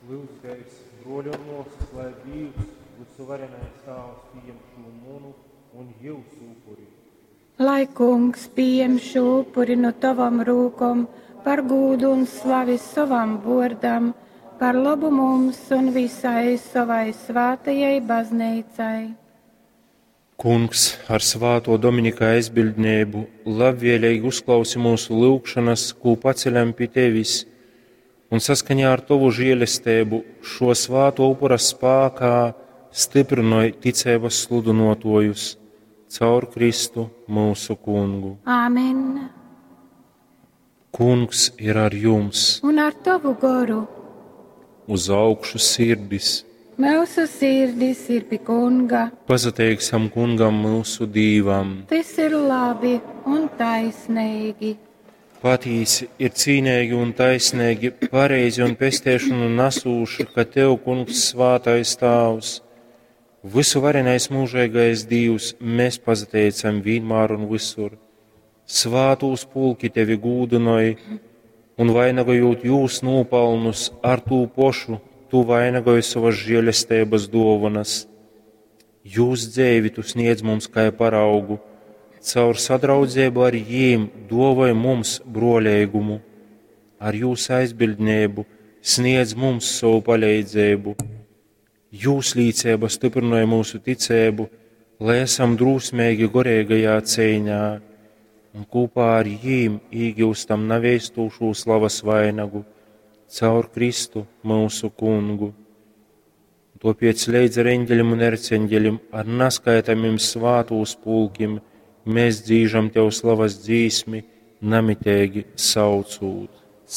Lyudzitēs, bruoļi un muosys, lai Dīvs, vysuvarenais Tāvs, pījem šū munu un jyusu upuri. Lai Kungs pījem šū upuri nu tovom rūkom par gūdu un slavi sovam vuordam, par lobu mums un visai sovai svātajai bazneicai. Kungs, ar svātuo Dominika aizbiļdneibu labvēleigi uzklausi myusu lyugšonas, kū paceļam pi tevis, un saskaņā ar tovu žielesteibu šo svātuo upura spākā styprynoj ticeibas sludynuotuojus caur Kristu myusu Kungu. Āmen. Kungs ir ar jums! Un ar tovu goru. Uz augšu sirdis! Myusu sirdis ir pi Kunga. Pasateiksim Kungam myusu Dīvam! Tys ir labi un taisneigi. Patīsi ir cīneigi un taisneigi, pareizi un pesteišonu nasūši, ka Tev, Kungs, svātais Tāvs, vysuvarenais mūžeigais Dīvs, mēs pasateicam vienmēr un visur. Svātūs pulki Tevi gūdynoj, un vainagojot jūs nopelnus ar tū pošu, Tu vainagoji savas žēlestības dovanas. Jūs dzeivi Tu sniedz mums kā paraugu, caur sadraudzību ar jīm dovoj mums broļīgumu, ar jūs aizbildnību sniedz mums savu palīdzību. Jūs līdzība stiprināja mūsu ticību, lai esam drūsmīgi gorīgajā cīņā un kopā ar jīm iegūstam nevēstūšu slavas vainagu caur Kristu mūsu kungu. Tāpēc līdz ar eņģeļiem un erceņģeļiem, ar neskaitāmiem svātūs pulkim, mēs dzīžam Tev slavas dzīsmi, namitīgi saucūt.